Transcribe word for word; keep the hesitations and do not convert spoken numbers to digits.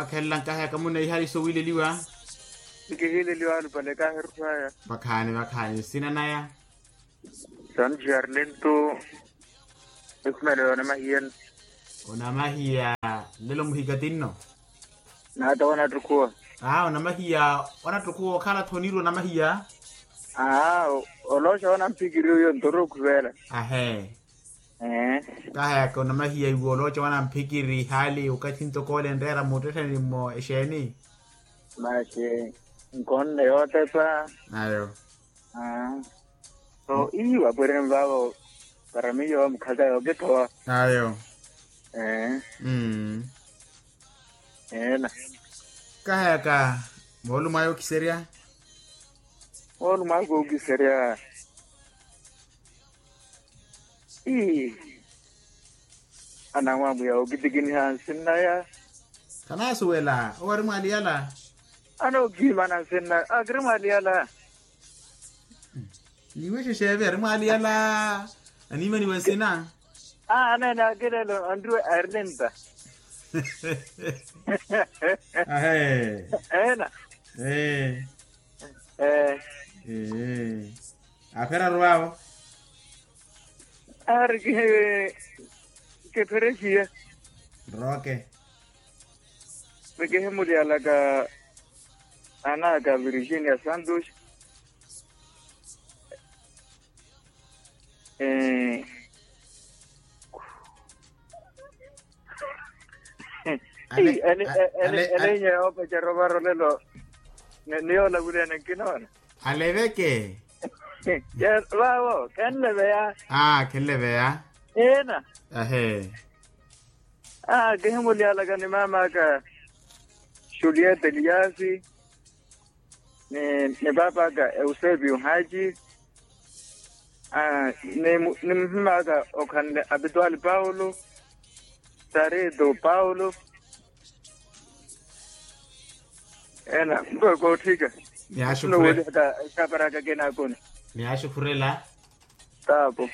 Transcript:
Wakhelela nkahi aka muneihaliso wiileliwa. Nkihiileliwa alupale kahiru saya. Vakhaani vakhaani nsina naya. Santi arlento. Ekhumelo yonamahiya. Onamahiya. Lelo muhika tinno. Naata wanatukhuwa. Aa onamahiya. Wanatukhuwa okhala thonirwa onamahiya. Aa. Olooxa wanamphikiri oyo ntoro okhuvela. Ahee. Ee. Kahayaka onamahiya iwe olooxa wanamphikiri hali okathi ntoko ole nreera muttetheni mmo exeeni. Masi nkonne yootepa. Ayo. Aa. So ii wapwireni vaavo. Para miyo mukhaka yookithowa. Ayo. Ee. Mm. Eena. Kahayaka moolumo ayo okiserya. Moolumo ayo kookiserya. Ii. Anamwamwiya okitikiniha nsinnaya. Khanasuwela owo ari mwaaliyala. Anookihimana nsinnaya akiri mwaaliyala. Niwe xexeeve ari mwaaliyala. Animaniwe nsina. Aa aneene akilelo anriwe arlenta. Ahee. Eena. Ee. Ee. Ee. Apheraru vaavo. Ari kihe kipherexiye. Roke. Vekehe muliyalaka. Anaka virginia santos. Ee. Ene enye yoopecerya ovaro lelo. Niyoola vuli ene nkinoona. Aleveke. Vaavo khenleveya. Aa khenleveya. Ina. Ahee. Aa kihimuliyalaka ni maam'aka. Julieta eliasi. Ni paap'aka eusepio haaci. Ni muhim'aka okhanle apitwali paulo. Sarito paulo. Ena mpe kootthika. Nowolihaka ekaparaka kenaakoni. Niyaaxukhurela. Taapo.